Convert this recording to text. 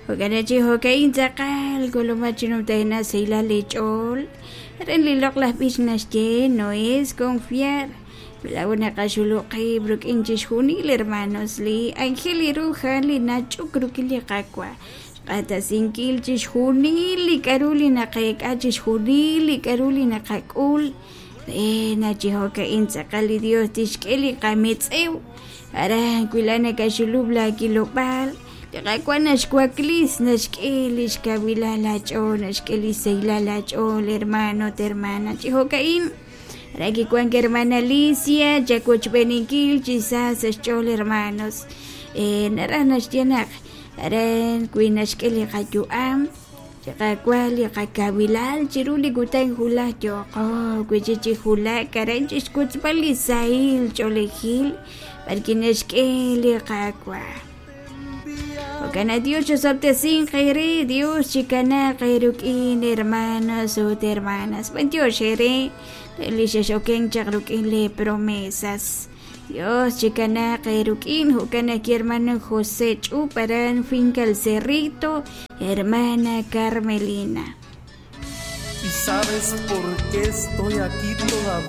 Jo'kan chi jo'ka'in tz'aqal k'ulumat chi numtajenaq sahilal li ch'ool. Aran li loq'laj b'ich naxye no es confiar. Laa'o naqaxulub' qib' rik'in chixjunil hermanos li ángel ru a'an li nach'uk rik'in li Qaawa'. Xq'axtesinkil chixjunil li k'a'ru li naqeek'a, chixjunil li k'a'ru li naqak'ul. Re naq chi jo'ka'in tz'aqal li Dios tixk'e li qametz'ew. Aran wi laa'at nakaxulub' laakilob'aal, li Qaawa' naxwaklis, naxk'e li xkawilal aach'ool, naxk'e li xsahilal aach'ool, hermano ut hermana. Chi jo'ka'in, aran kiwank hermana Alicia chawochb'eeninkil chi sa sa' xch'ool hermanos. Naraj naxye naq aran wi naxk'e li qayu'am, li Qaawa' li qakawilal chiru li kutan wulaj yooqo wi' chik chi wulak aran chixwotzb'al li sahil ch'oolejil b'arwi' naxk'e li Qaawa'. Jo'kan naq Dios chosob'tesinq eere, Dios chikanaaq eerik'in hermanos ut hermanas. B'antiox eere li xex'okenk chaq rik'in lee promesas. Dios chikanaaq eerik'in, jo'kan naq hermano José Ch'up aran Finca El Cerrito, hermana Carmelina. ¿Y sabes por qué estoy aquí todavía?